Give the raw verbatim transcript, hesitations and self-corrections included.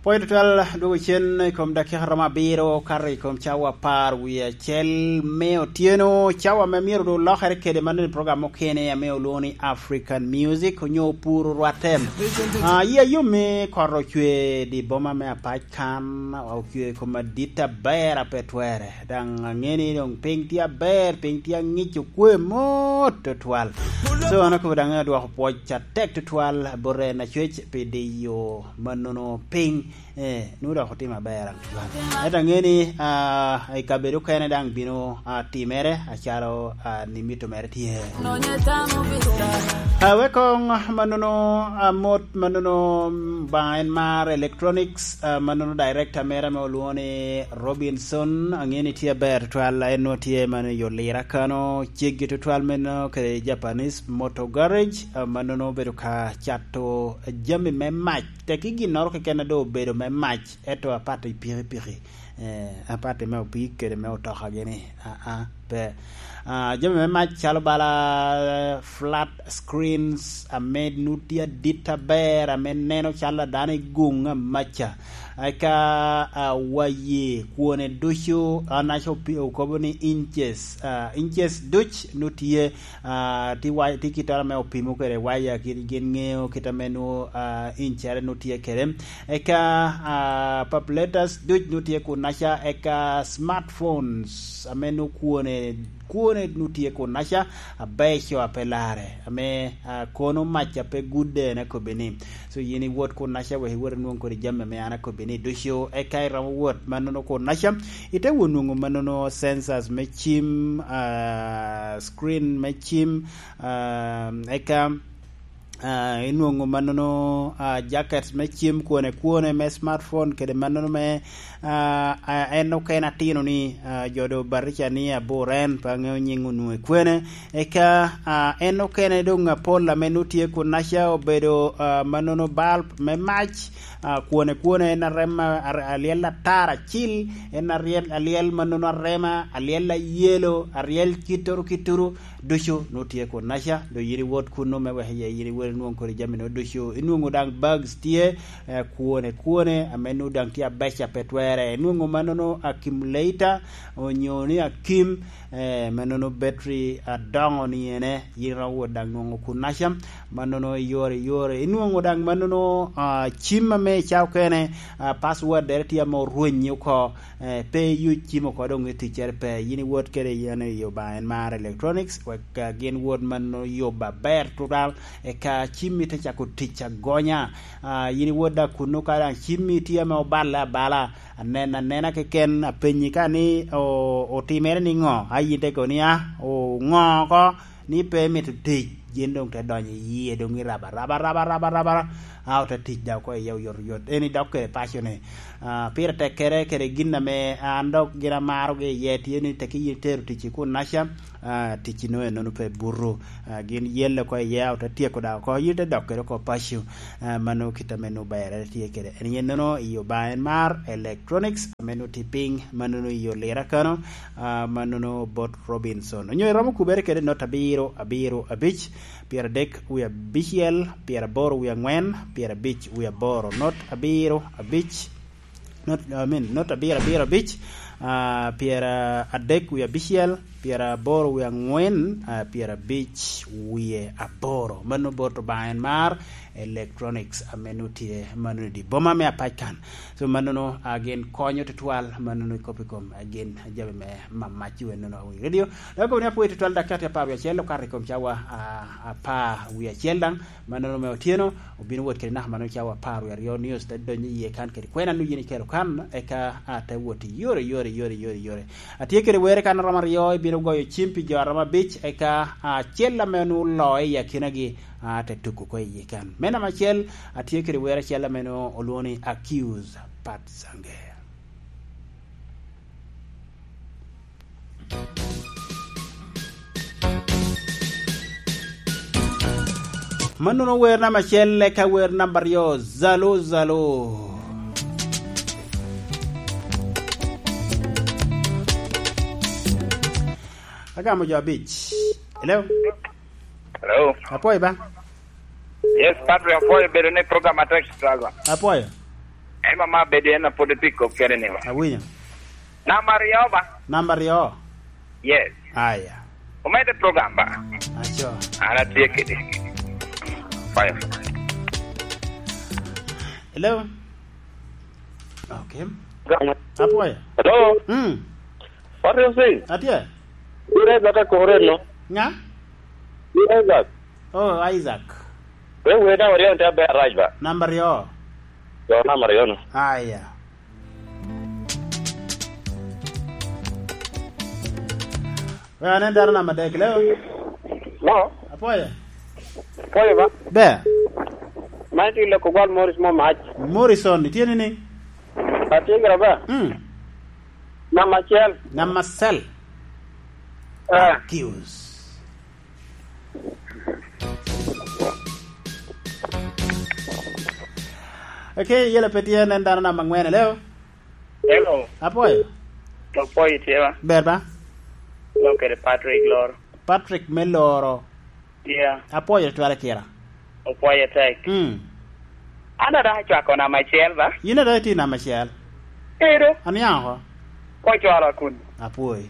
Pwoyo tutwal dwogo cen i kom dakika romo abiro kato i kom cawa apar wie acel me otyeno, cawa ame myero doŋ lokere kede man i program mukene ame olwoŋo ni African Music onyo Puro Rwatte. Ah, yi ayom me koro ocwe di boma me apac kan, ocwe i kom adit aber ape twere. Daŋ aŋe ni doŋ piny tye aber, piny tye aŋic okwe mot tutwal. So, an akobo daŋ adwoko pwoc atek tutwal bot en Acwec pi diyo mannono piny. Eh, nwoŋo dok otimo aber tutwal. Ento aŋe ni, ah, i kabedo okene daŋ bino, ah, timere acalo, ah, ni mito mere tye. Awek koŋ mannono, ah, mot mannono, mm, Obaŋa en mar electronics, ah, mannono director mere ame olwoŋo ni Robinson, aŋeo ni tye aber tutwal, en nwoŋo tye mano i Olira kano, ceggi tutwal meno kede Japanese Motor Garage, ah, mannono obedo ka cato jami me mac, tekki ginnoro keken a doŋ obedo me mac, ento apat i pikipiki, eh, apat i me opii kede me otoka gini, ah, ah, pe. Ah, jami me mac calo bala, eh, flat screens, ame nut tye adit aber, ame neno calo dano i guŋ amaca. Eka, ah, waye kwone ducu, an aco pi-, okobo ni inches, ah, inches duc nut tye, ah, ti wa-, ti kittoro ame opimo kede waya, kit gin ŋeo kit ame nwoŋo, ah, incere nut tye kede. Eka, ah, papuletas duc nut tye kun naca, eka smartphones ame nwoŋo kwone, kwone nwoŋo tye kun naca, abeco a pe larre, ame, ah, kono mac a pe gudde en akobbi ni. So, yin iwot kun naca wek iwot inwoŋ kodi jami ame an akobbi ni ducu, eka iromo wot mannono kun naca, ite wot nwoŋo mannono sensors me cim, ah, screen me cim, ah, eka ah, inwoŋo mannono, ah, jacket me cim kwone kwone me smartphone kede mannono me, ah, ah, en okene atino ni, ah, jo do baticha ni abor en, pe aŋeo nyiŋ onwoŋo i kwene. Eka, ah, en okene doŋ apol ame nwoŋo tye kun naca obedo, ah, mannono bulb me mac, ah, kwone kwone en arema ar-, alyel atar acil, en aryel, alyel mannono arema, alyel ayelo, aryel kittoro kittoro, ducu nwoŋo tye kun naca, doŋ yin iwot kunnu me wek iye yin iwot inwoŋ kodi jami-nu ducu. Inwoŋo daŋ bags tye, eh, kwone kwone, ame nwoŋo daŋ tye abeca pe twere. Inwoŋo mannono accumulator, onyo ni akim, eh, mannono battery adoŋo ni ene, yin iromo wot daŋ nwoŋo kun naca, mannono iyore iyore. Inwoŋo daŋ mannono, ah, cim ame i ca okene, ah, password dere tye ame orwenyi oko, eh, pe iyuc cim oko doŋ i ticcere pe. Yin iwot kede yen i Obaŋa en mar electronics, wek, ah, gin wot mannono yub aber tutwal, eka cimmi te cako tic agonya. Ah, yin iwot daŋ kunnu ka daŋ cimmi tye ame oballe abala, anen anena keken, apenyi ka ni o-, otimere niŋo, a yin te kobo ni, "Ah, oŋo oko?" Ni pe mito tic, gin doŋ te donyo i yie, doŋ i raba, raba, raba, raba, raba, a ote tic daŋ oko iye oyotoyot. En idok kede paco-ni. Ah, pire tekkere kede gin ame an dok gin amarogi iye tye ni tekki yin itero ticci kun naca, ah, ticci nongo ennono pe buto. Ah, gin yelle oko iye, a ote tyeko daŋ oko, yin ite dok kede oko paco. Ah, mano kit ame nongo berre tye kede. En yen nono i Obaŋa en mar electronics, ame nongo tye piny, ma nono i Olira kano, ah, ma nono bot Robinson. Onyo iromo kubere kede not abiro, abiro, abic, pyeradek wie abicel, pyeraboro wie angwen, pyerabic wie aboro. Not abiro, abic, not, I mean, not abiro, abiro, abic, ah, pyeradek wie abicel, pyeraboro wie angwen, ah, pyerabic wie aboro. Mano bot Obaŋa en mar electronics ame nongo tye mano i dye boma me Apac kan. So, mannono, ah, gin konyo tutwal, mannono i kop i kom, ah, gin jami me mamac i wenono i radio. Dok kobo ni apwoyo tutwal, dakika tye apar wie acel okato i kom cawa, ah, apar wie acel daŋ, mannono me otyeno, obino wot kede naka mannono cawa apar wie aryo, news te donyo iye kan kede kwena nongo yin ikelo kan, eka, ah, te wot i yore, yore, yore, yore, yore. Atye kede were kan romo aryo, ibino goyo cim pi jo a romo abic, eka, ah, acel ame onwoŋo oloo i akinagi, ah, te tuko oko iye kan. Me namba acel, atye kede wer acel ame nwoŋo olwoŋo ni Accuse, Pat Sange. Mannono wer namba acel, eka wer namba aryo, Zalo, Zalo. Agamo jo abic. Hello? Hello? Apwoyo ba? Yes, Patrick, apwoyo bedo ni program atek struggle. Apwoyo. Ema ma bedo en apwod pi kop kene ni wa. Awinyo. Namba aryo ba? Namba aryo. Yes. Aya. Omedde program ba? Aco. An atye kede. Fire. Hello? Okay. Apwoyo. Hello? Mm. What do you say? Atye. Ira Isaac akore no. Nga? Ira Isaac. Oh, Isaac. We we namba aryo te ber rac ba? Namba aryo. Yo, namba aryo no. Aya. We anen dano namba adek, leo? Mo? Apwoyo. Apwoyo ba? Ber. Man tye loko gwal Morris mo mac. Morrison, itye nining? Atye gira ba? Mm. Namba acel. Namba acel. Eh. Accuse. Okay, yela pe tye nen dano namba angwen, hello? Hello. Apwoyo. Apwoyo itye ba? Ber ba? Lo kede Patrick Loro. Patrick me Loro. Yeah. Apwoyo twere kira. Opwoyo tek. Mm. An ada acwako namba acel ba? Yin ada iti namba acel. Edo. Aniang oko. Kocwalo kun. Apwoyo.